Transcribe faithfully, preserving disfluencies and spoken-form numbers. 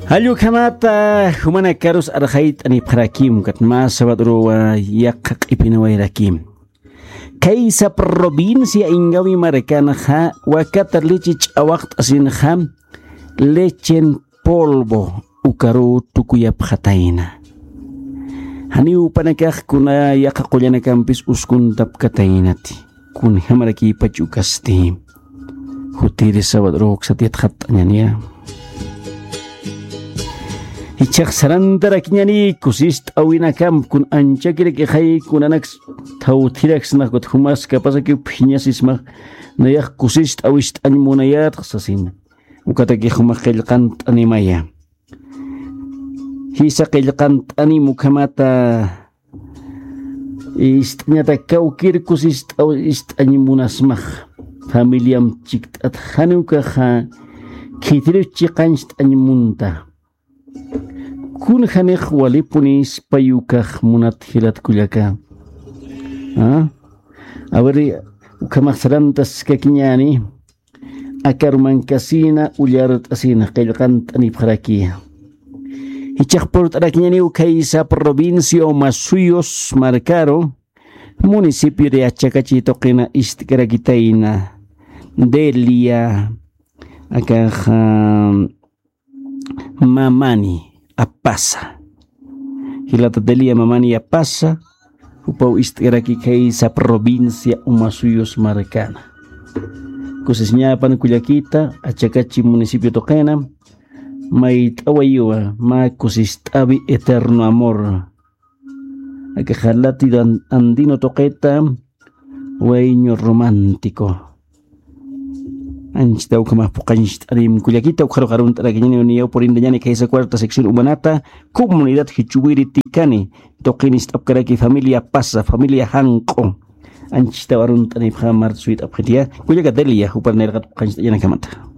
Jallukhamata jumanakarus arxayt'anipxarakim katma sabadruwa yaqha q'ipinawayrakim. Kaysa provincia ingawi markanxa wakata leche ch'awaqt'asinxa lechen polvo ukaru tukuyapxatayna. Janiw upanakax kuna yaqha qullanakampis uskuntapkataynati. Kunjamarakïpach ukasti. Jutiri sabadruksat yatxatt'añaniya. Ichax sarantarakiñani kusist'awinakamp kun anchakirakixay kunanaks thawthiraksnax kut jumas kapasakiw phiñasismax nayax kusist'awist'añ munayatx sasina. Ukataki jumax qillqant'animaya. Jisa qillqant'anim ukhamata ist'añata kawkir kusist'aw ist'añ munasmax. Familiam chikt'at janiwkaxa khitiriw chiqancht'añ munta. Kun janix walipuni ispayukax munat jilatkullaka. A ver, ukhamax sarantaskakiñani. Akarumankasina ullart'asina qillqant'anipxarakiya. Ichax purt'arakiñaniw khaysa provincia umasuyus markaru municipio de achakachi tuqina ist'karakitayna. Delia akaxa mamani apasa. Jilata delia mamani apasa. Jupaw ist'karaki khaysa provincia umasuyus markana. Kusisñapan kullakita achakachi municipio tuqina. Mayt'awayiwa mä kusist'awi eterno amor. Akaxa latido andino tuqita. Wayño romántico. Anchita ukhamax puqañcht'anim kullakita ukharuxarunt'arakiñani uniyaw purintañani khaysa cuarta sección umanata. Comunidad jichuwiri tikani tuqinist'apkaraki familia pasa familia janq'u. Anchita warunt'anipxa marta suyt'apxitiya kullaka delia jupar nayraqat puqañcht'añanakamata.